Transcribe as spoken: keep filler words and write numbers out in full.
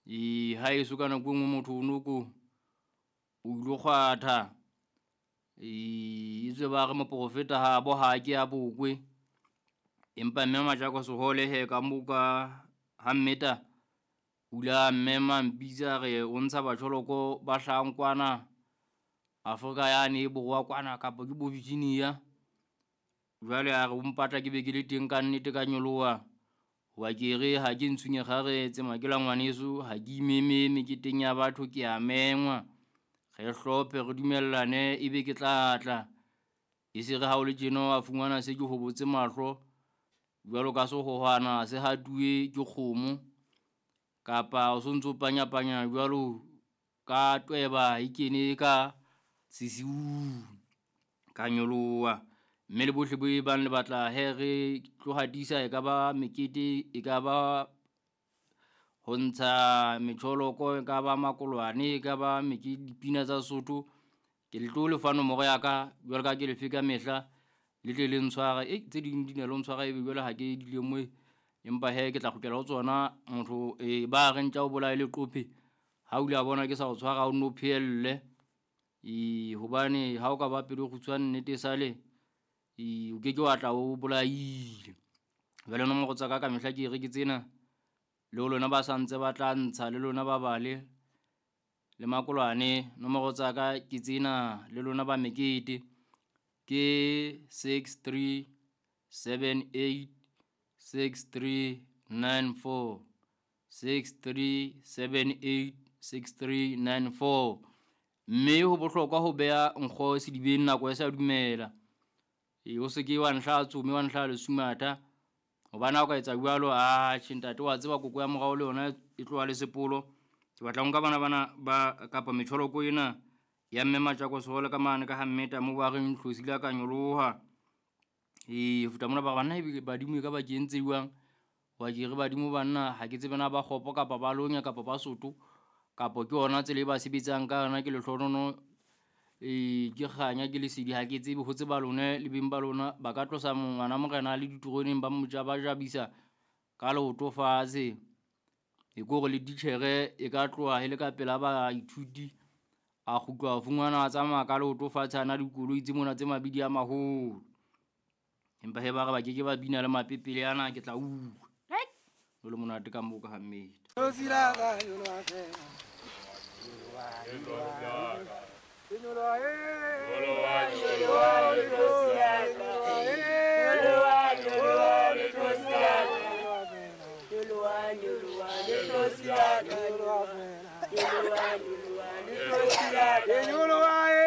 E ha eso ka nako e nngwe motho o no ko o ilo kgwatha. E etswe ba re moprofeta ha bo ha ke a bokwe. Empa mme Majako Sehole he ka mo ka ha mmeta o ile a mmema mpitsa re o ntsha batjholoko ba hlahang kwana Afrika yane e borwa kwana kapa ke bo Virginia. Jwale a re o mpatla ke be ke le teng ka nnete ka nyoloha. Hoba ke re ha ke ntshunye kgaretse makela ngwaneso ha ke imeme meketeng ya batho ke a mengwa. Re hlophe re dumellane ebe ke tla tla. E se re ha o le tjena wa fumana se ke hobotse mahlo jwalo ka sehohwana se hatuwe ke kgomo kapa o sontso panyapanya jwalo ka tweba e kene ka sesiung ka nyoloha. Mme le bohle bo e bang le batla he re tlo hatisa e ka ba mekete, e ka ba ho ntsha metjholoko, e ka ba makolwane, e ka ba mekete dipina tsa Sesotho. Ke le tlo lefa nomoro ya ka jwalo ka ke lefe ka mehla le tle le ntshware. E tse ding di na le ho ntshwara ebe jwale ha ke di lemohe, empa he ke tla kgutlela ho tsona. Motho e ba re ntja o bolaye leqophe ha o ile a bona ke sa o tshwara o nno phehelle. E hobane ha o ka ba pelo e kgutshwane nnete e sale e o ke ke wa tla o bolaile. Jwale nomoro tsa ka ka mehla ke re ke tsena le ho lona ba sa ntse ba tla ntsha le lona ba bale le makolwane. Nomoro tsa ka ke tsena le lona ba mekete ke six three seven eight six three nine four, six three seven eight six three nine four. Mme ho bohlokwa ho beha nkgo sedibeng nako e sa dumela. E o se ke wa nhla tsome wa nhla lesumatha hobane ha o ka etsa jwalo, atjhe ntate wa tseba koko ya morao le yona e tloha le sepolo. Ke batla ho nka bana bana ba kapa metjholoko ena ya mme Majako Sehole ka mane ka ha mmeta moo ba reng tlhosi la ka nyoloha. E ho feta mona ba re banna ebe badimo e ka ba ke entse jwang? Hoba ke re badimo banna ha ke tsebe na ba kgopo kapa ba lonya kapa ba soto kapa ke yona tsela e ba sebetsang ka yona. Ke lehlohonono e ke kganya ke lesedi ha ke tsebe ho tseba lona le beng ba lona ba ka tlosa ngwana morena le diteroneng ba mo ja ba jabisa ka leoto fatshe. E ke hore le titjhere e ka tloha e le ka pela baithuti a kgutlwa a fumana a tsamaya ka leoto fatshe a na le dikoloi tse mona tse mabidi a maholo. Empa he ba re ba ke ke ba bina le mapepele ana ke tla utlwa. Ho le monate ka moo ka ha mmete.